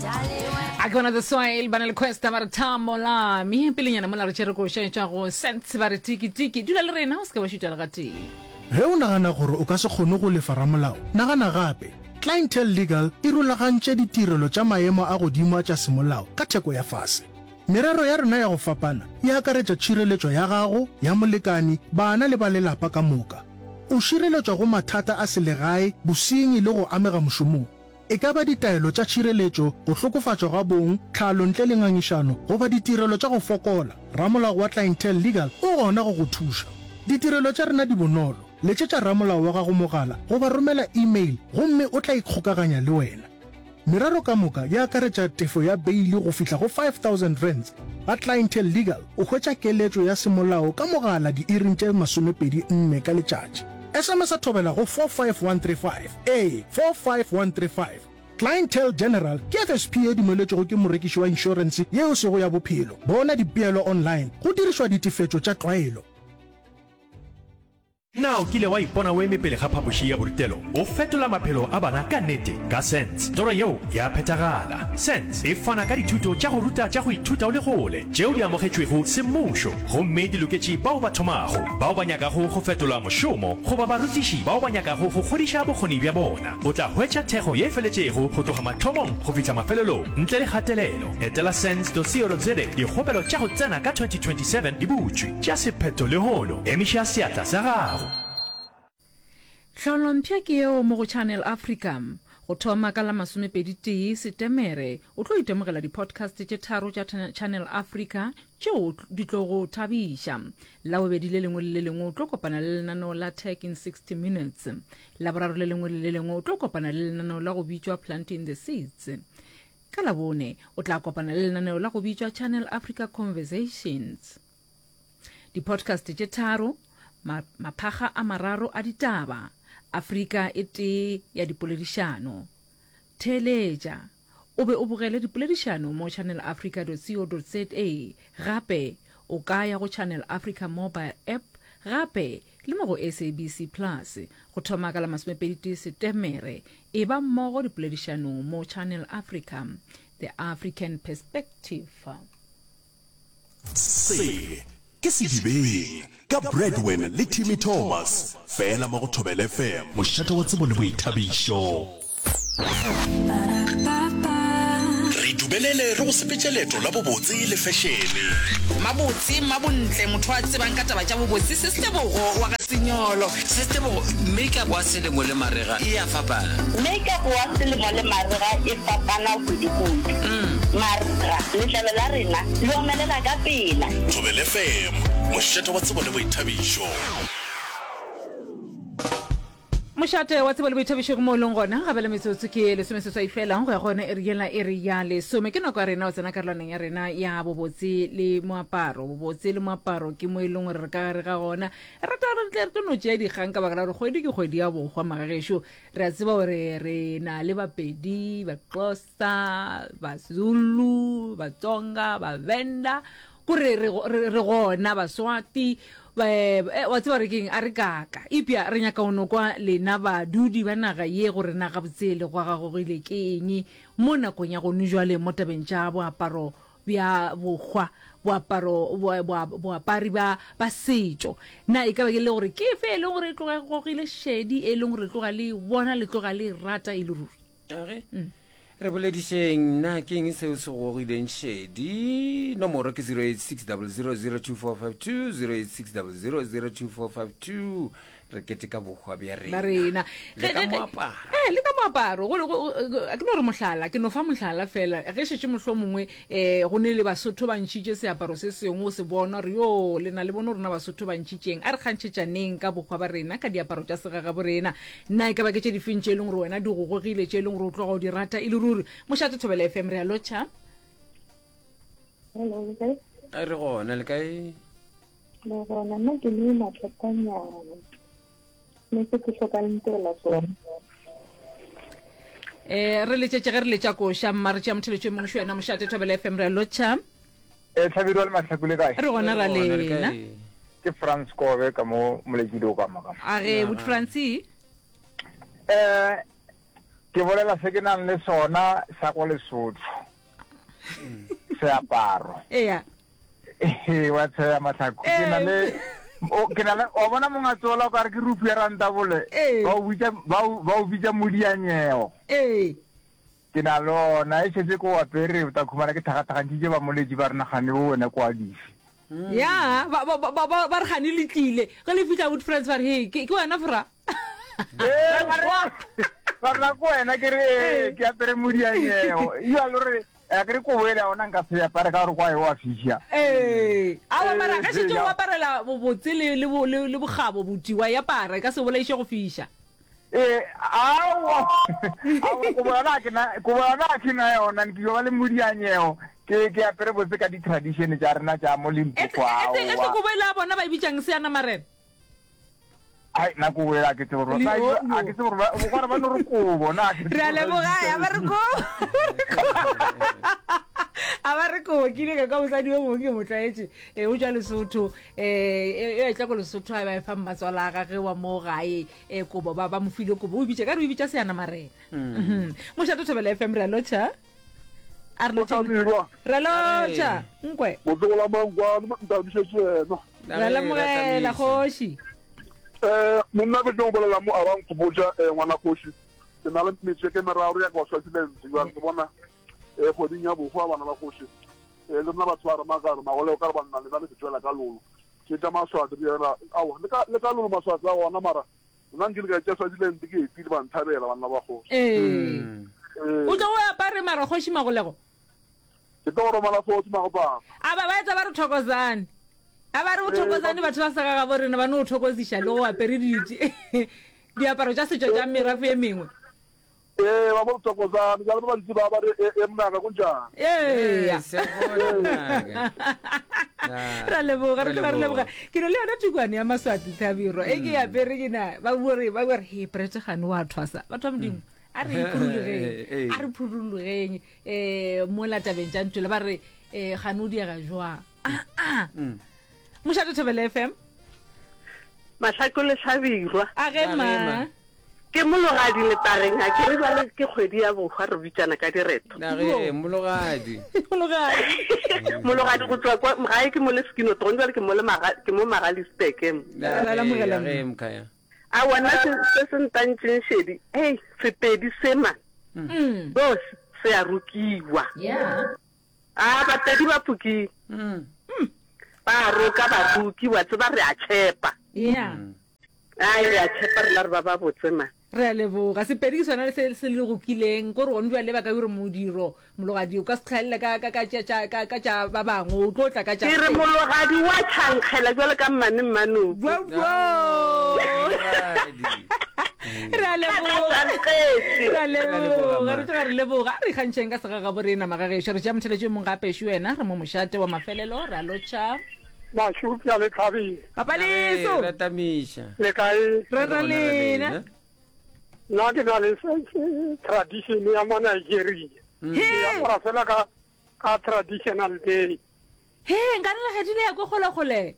A ke bona The Soil ba na le Questa ba re thamo lami pelenyana mola re tšere koša e tšwa go Sense ba re tiki tiki dula le rena o se ke wa šutša le gatee. Ge o nagana gore o ka se kgone go lefa ramolao, nagana gape. Clientele Legal e rulagantše ditirelo tša maemo a godimo a tša semolao ka theko ya fase. Merero ya rena ya go fapana e akaretša tšhireletšo ya gago, ya molekani, bana le ba lelapa ka moka. O šireletšwa go mathata a selegae, bosenyi le go amega mošomong. E ka ba ditaelo tša tšhireletšo, go hlokofatšwa ga bong, tlhalo ntle le ngangišano, goba ditirelo tša go fokola, ramolao wa Clientele Legal o gona go go thuša. Ditirelo tša rena di bonolo, letšetša ramolao wa gago mogala goba romela email gomme o tla ikgokaganya le wena. Merero ka moka e akaretša tefo ya beili go fihla go R5000. Ga Clientele Legal o hwetša keletšo ya semolao ka mogala diiring tše 24 ka letšatši. SMS-a thobela go 45135. Ee, 45135. Clientele General ke FSP ye dumeletšwego ke morekiši wa inšorense ye e sego ya bophelo. Bona dipeelo online go dirišwa ditefetšo tša tlwaelo. Na o kile wa ipona o eme pele ga phapoši ya borutelo o fetola maphelo a bana ka nnete? Ka SENS, toro yeo ya phethagala. SENS e fana ka dithuto tša go ruta tša go ithuta o le kgole tšeo di amogetšwego semmušo gomme di loketše bao ba thomago, bao ba nyakago go fetola mošomo goba barutiši bao ba nyakago go godiša bokgoni bja bona. O tla hwetša thekgo ye e feletšego go tloga mathomong go fihla mafelelong ntle le kgatelelo. Etela sens.co.za Dikgopelo tša go tsena ka 2027 di butšwe. Tšea sephetho lehono. Emiša seatla sa gago. Tlholompša ke yeo mo go Channel Africa. Go thoma ka la masomepeditee Setemere, o tlo itemogela di-podcast tše tharo tša Channel Africa tšeo di tlo go thabiša. Labobedi le lengwe le le lengwe o tlo kopana le lenaneo la Tech in 60 Minutes. Laboraro le lengwe le le lengwe o tlo kopana le lenaneo la go bitšwa Planting the Seeds. Ka Labone o tla kopana le lenaneo la go bitšwa Channel Africa Conversations. Di-podcast tše tharo, ma, maphakga a mararo a ditaba, Afrika e tee ya dipoledišano. Theeletša o be o bogele dipoledišano mo channelafrica.co.za. Gape o ka ya go Channel Africa mobile app gape le mo go SABC Plus. Go thoma ka la masomepeditee Setemere, e ba mmogo dipoledišanong mo Channel Africa, The African Perspective. Se ke Sedibeng ka Bradwin le Timmy Thomas, fela mo go Thobela FM. Mošate wa tsebo le boithabišo. Re dumelele re go sepetše leeto la bobotse le fešene. Mabotse, Mmabontle, motho a tsebang ka taba tša bobotse, Sis Tebogo wa ga Senyolo. Sis Tebogo, Make-up wa selemo le marega e a fapana? Make-up wa selemo le marega e fapana kudu-kudu. Marega, letlalo la rena le omelela ka pela. Thobela FM, mošate wa tsebo le boithabišo. Mošate wa tsebo le boithabišo ke mo o leng gona. Ga bjale metsotso ke lesomeseswai fela go ya go yona iri yela iri ya lesome. Ke nako ya rena go tsena karolwaneng ya rena ya bobotse le moaparo. Bobotse le moaparo ke mo e leng gore re ka gare ga gona. Re rata gore re tle re tlo no tšea dikgang ka baka la gore kgwedi ke kgwedi ya bohwa magagešo. Re a tseba gore re na le Bapedi, Baxhosa, Bazulu, Batsonga, Bavenda, kore re, re, re gona Baswati, eh, wa tseba re keng a re kaka. Eupša re nyaka go no kwa lena badudi ba naga ye gore na gabotse le gwa gagogile ke eng mo nakong ya gone jwale mo tabeng tša boaparo bja bohwa, boaparo, boapari ba, ba setšo. Na e ka ba ke le gore ke efe e leng gore e tloga e gogile šedi, e leng gore tloga le e bona, le tloga le e rata e le ruri? Age, mm. Re boledišeng, na ke eng seo se gogileng šedi? Nomoro ke 086 0002452, 086 0002452. Re keteka bohwa bja rena. Rena. Le ka moaparo. Eh, le ka moaparo. Go, go, ke no re mohlala, ke no fa mohlala fela. Ge šetše mohlomongwe eh go ne le Basotho ba ntšhitše seaparo se sengwe o se bona gore yo le na le bone rona Basotho ba ntšhitšeng. A re kgantšhetšaneng ka bohwa ba rena ka diaparo tša segagabo rena. Na e ka ba ke tše difeng tše e leng gore wena di go gogile, tše e leng gore o tloga o di rata e le ruri? Mošate Thobela FM re a lotšha. Hello, le kae? Re gona, le kae? Le gona, nna ke le mathatanyana. Ne se ke hloka le ntirela sona. Eh, re letšetše ge re letša koša mma re tšea motheletšo e mongwe šo wena mošate Thobela FM re a lotšha. Eh, Hlabirwa le Mahlaku le kae? Re gona ra lena. Ke Frans Kobe ka mo Moletšidi o ka mo ka. A ge, but Francie. Eh. Ke bolela se ke nang le sona sa ko Lesotho. Seaparo. Eya. Ee, wa tsheya Mahlaku. Ke na le o ke na le wa bona mongatsola o ka re ke rupu ya rantabole. Ba o bitsa ba o ba o bitsa modianyeo. Ee. Ke na le ona e šetse ko apere o tla khumana ke thagathagantšitše ba moletši ba re nagane o wena kwa dife. Ya, ba ba ba ba re gane le tlile. Ge le fihla Wood Friends ba re he ke ke wena fra. Ee, ba re ba re na ko wena ke re ee, ke apere modianyeo. Ya lo re a ke re kobo ele ya ona nka se apare ka gore kwa e wa fiša. Ee. Aowa mara ge šetše o aparela bobotse le le le le bokgabo buti wa e apara e ka se bolaiše go fiša. Ee, aowa. Aowa kobo yona ke na kobo yona a ke na yona ke yo ba le modianyeo. Ke ke apere botse ka di tradition tša rena tša mo Limpopo aowa. Etse etse kobo ele ya bona ba e bitšang seanamarena. Ai, nna kobo ela ke tsebe gore ba a ke tsebe gore ba gore ba no re kobo na ke Re a leboga a ba re kobo. A ba re kobo ke ile ka kwa mosadi yo mongwe ke mo tlwaetše eh, o tšwa Lesotho eh e etla ko Lesotho a ba e fa mmatswala a gage wa mo gae eh kobo ba ba mo file kobo o e bitša ka re o e bitša seanamarena. Mhm. Mošate Thobela FM re a lotšha. A re lotšha. Re a lotšha. Nkwe. Motlogola Mankwane ntabišetše yena. Re a lemogela kgoši. Eh monna ke tlo bolela mo a ba nkgopotša eh ngwana kgoši. Ke na le metšeke meraro ya kwa Swaziland jwang ke bona eh kgweding ya bohwa bana ba kgoši. Eh le rena batho ba re makare magole o ka re banna lena le se tšwela ka lolo. Ke tša maswati re yena aowa le ka le ka lolo maswati a gona mara Nna nkile ka tšea Swaziland ke etile ba nthabela banna ba kgoši. Ee. O tlo o apare mara kgoši Magolego? Ke tlo go romela fotse Magopapa. A ba ba etsa ba re thokozane. A ba re o thokozane batho ba sa ga gabo rena ba no o thokoziša le go apere di diaparo tša setšo tša merafe e mengwe. Ee, ba bo re thokozane jale ba bantsi ba ba re e e mnaka kunjani. Eya. Ra leboga, re tloga re leboga. Ke ne le yona tukwane ya Maswati Thabiro e ke apere ke na ba bua re ba bua re he Brett gane wa thwasa. Batho ba Modimo a re phurulogeng, a re phurulogeng eh mola tabeng tša ntšwele ba re eh gane o diega jwang. Ah ah. Mošate Thobela FM. Mahlako le Hlabirwa. A ge ma. Ke mologadi letageng a ke re bjale ke kgwedi ya bohwa re bitšana ka direto. Nage mologadi. Mologadi. Mologadi go tšwa kwa gae ke mo le Skinotron jwale ke mo le maga ke mo Magaliesburg mo. Ra lamogela Nage mkhaya. Aowa nna se se se ntantšeng šedi hei Sepedi se man yo se a rokiwa. Yeah. A Bapedi ba Puking ba a roka baroki wa tseba re a tšhepa. Yeah. Ai re a tshepa rena re ba ba botse man. Re a leboga. Sepedi ke sona se se le rokileng. Ko re gone bjale ba ka yo re modiro mologadi o ka se tlhaelele ka ka ka tša tša ka ka tša ba bangwe o tlo tla ka tša Ke re mologadi wa tšhankgela jwalo ka mmane mmanoko. Bro bro. Re a leboga. Re a leboga. Re tloga re leboga. A re ikgantšheng ka segagabo rena magagešo. Re tšea motheletši yo mongwe gape šu wena re mo mošate wa mafelelo. Re a lotšha. Mašupša le Thabile. Papa Leso. Re tamiša. Le kae? Re ra lena. Nna ke na le tradition ya mo Nigeria. Hmm. Ke apara fela ka ka traditional day. He, nka re legedile ya ko kgole kgole.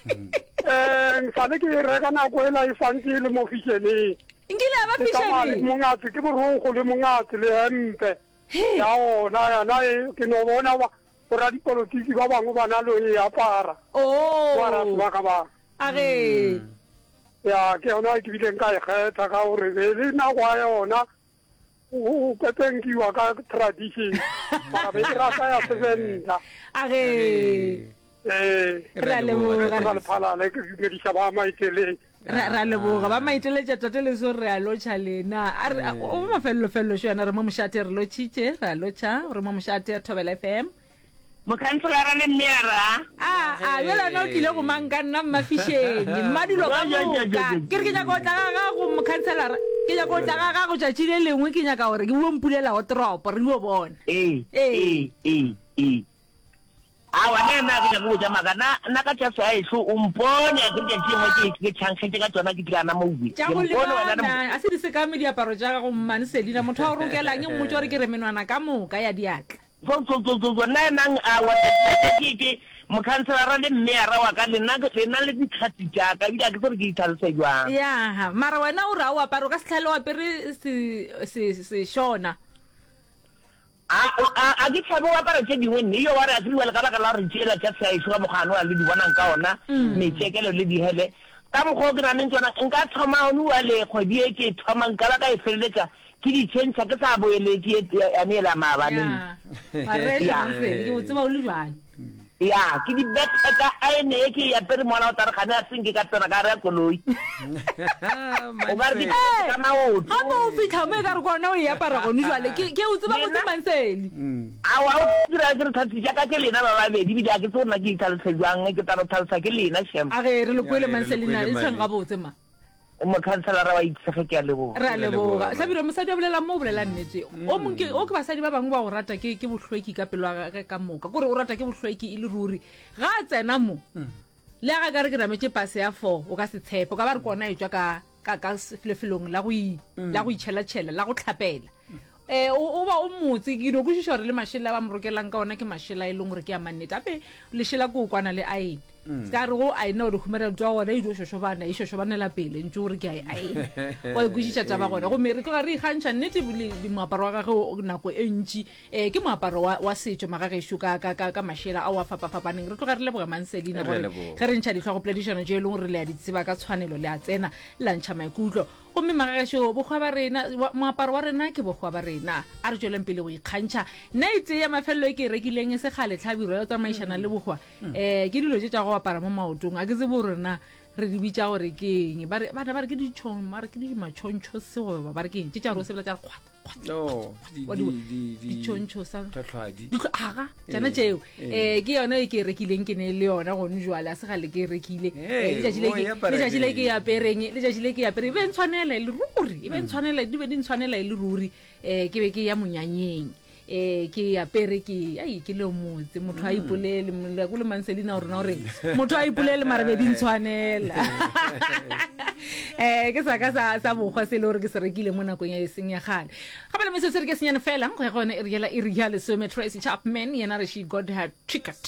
Eh, nsale ke e reka nako ela e santse e le mo fisheneng. Nkile ya ba fisheneng. Mongatse ke borokgo le mongatse le hempe. Ya ona yana e ke no bona Boradipolotiki ba bangwe ba na le e apara. Oh. Ba ra sebaka ba. A ge. Ya, ke yona ke bileng ka e kgetha ka gore be le nako ya yona o pepenkiwa ka tradition. Mara be ke rata ya Sevenda. A ge. Ee. Re a leboga. Re lephalale ke dumediša ba maiteleng. Ra ra leboga ba maiteletša tate leso re a lotšha lena a re o mafelelo felelo šo yana re mo mošate re lotšhitše re a lotšha re mo mošate Thobela FM Mokhanselara le mmeyara. A a bjale wena o tlile go mang ka nna mmafišeng mmadulo ka moka ke re ke nyaka go tla ga gago mokhanselara ke nyaka go tla ga gago tšatši le lengwe ke nyaka gore ke o mpulela watropo re dio bona Ee, ee ee, ee, ee. Aowa, nna nna ga ke nyake go ja maaka. Nna, nna ka tša segaešo, o mpone a ke re tšatši lengwe ke, ke tšhankgetše ka tšona ke tlana mowe. Tša Ke go mpone wena le lebana, a se di sekame diaparo tša gago, Mmane Selina. Motho wa go rokelang, mmotše gore ke re menwana ka moka ya diatla. So, so, so, so, so, nna nang a wa ke ke mokhanselara le mmeyara wa ka lena lena le ditlhatsi tša ka ebile a ke tsebe ke itlhalose jwang. Ya, mara wena o re a o apare o ka se tlhale o apere se se sešona. A a a ke tshabe o apara tše dingwe nne yo wa re a tsebe ka baka la gore tšela tša seaešo ka mokgwa ano le di bonang ka ona metšekelo le dihele ka mokgwa o ke nang tsona nka thoma one wa le kgwedi e ke thoma nka ba ka e feleletša Ke di tšhentšha ke sa boeletše ye yane yela maabane. Ya. Mareša Ya. Mansele, ke o tseba o le bjang. Ya, ke di betha ka aene ye ke e apere mola o tla re gane a se nke ka tsena ka gare ga koloi. O ka re ke Ee, ka maoto. gape o fitlha mo e ka re ke ona o e apara gone jwale. Ke ke o tseba botse Lena? Mansele. Aowa, o dira ke re tlhalosetša ka ke lena ba babedi ebile ga ke tsebe gore na ke itlhalose jwang, ke tla no tlhalosa ke lena shem. A ge re le kwele Ya, re le Mansele na kwele, e tshweng Mane. gabotse ma. Mokhanselara wa Itshege ke a leboga. Re a leboga. Hlabirwa, mosadi a bolelang mo o bolela nnete. O mong ke, o ke basadi ba bangwe ba go rata ke, ke bohlweki ka pelo ya gage ka moka. Kore o rata ke bohlweki e le ruri. Ga a tsena mo, le ga ka re ke nametše pase ya four, o ka se tshepe. O ka ba re ke ona e tšwa ka, ka, ka lefelong la go, la go itšhelatšhela, la go hlapela. Eh, o, o ba o motse. Ke no kwešiša gore le mašela a ba mo rokelang ka ona ke mašela e leng gore ke a mannete. Gape lešela ke o kwana le aene. Se ka re go aena o re humana ntwa gona e dio šošobana, e šošobanela pele ntše o re ke a e aena. Wa e kwešiša taba gona. Gomme re tloga re ikgantšha nnete le, le moaparo wa gagwe o, nako e ntši. Eh, ke moaparo wa, wa setšo magagešo ka, ka, ka, ka mašela ao a fapafapaneng. Re tloga re leboga Manselina Re a gore leboga. ge re ntšha dihlogopoledišano tše e leng gore le a di tseba ka tshwanelo le a tsena la ntšha maikutlo. Gomme magagešo, bohwa ba rena, wa, moaparo wa rena ke bohwa ba rena. A re tšweleng pele go ikgantšha. Nna e tee ya mafelelo e ke e rekileng e se kgale, hlabirwa ya go tsamaišana le bohwa, um ke dilo tše tša go apara mo maotong. A ke tsebe gore na re di bitša gore ke eng. Ba re, bana ba re ke ditšhong, ba re ke di matšhontšho se goba ba re ke eng, tše tša gore o sepela tša re kgwata. No, di, Wa di- di, di, di, ditšhontšho sa tlhotlhwadi. Ditlho- aga tsona Eh, tšeo eh. um ke yone e ke e rekileng ke ne le yona gone jwale a se gale ke e rekile Hey, Eh, letšatši le o ke- e apara letšatši le ke e neng? apereng letšatši le ke e apereng e be ntshwanela e le ruri e be ntshwanela di be di ntshwanela e le ruri um ke be ke ya monyanyeng um ke e apere ke ai ke le motse motho a ipolele ko le manselina o rena gore motho a ipolele mara be di ntshwanela um ke sa ka sa sa bokgwa se e le gore ke se rekile mo nakong ya e seng ya kgale gape le metsotso re ke senyane fela go ya go yone e re yela e re ya lesome Tracy Chapman yena re she got her ticket.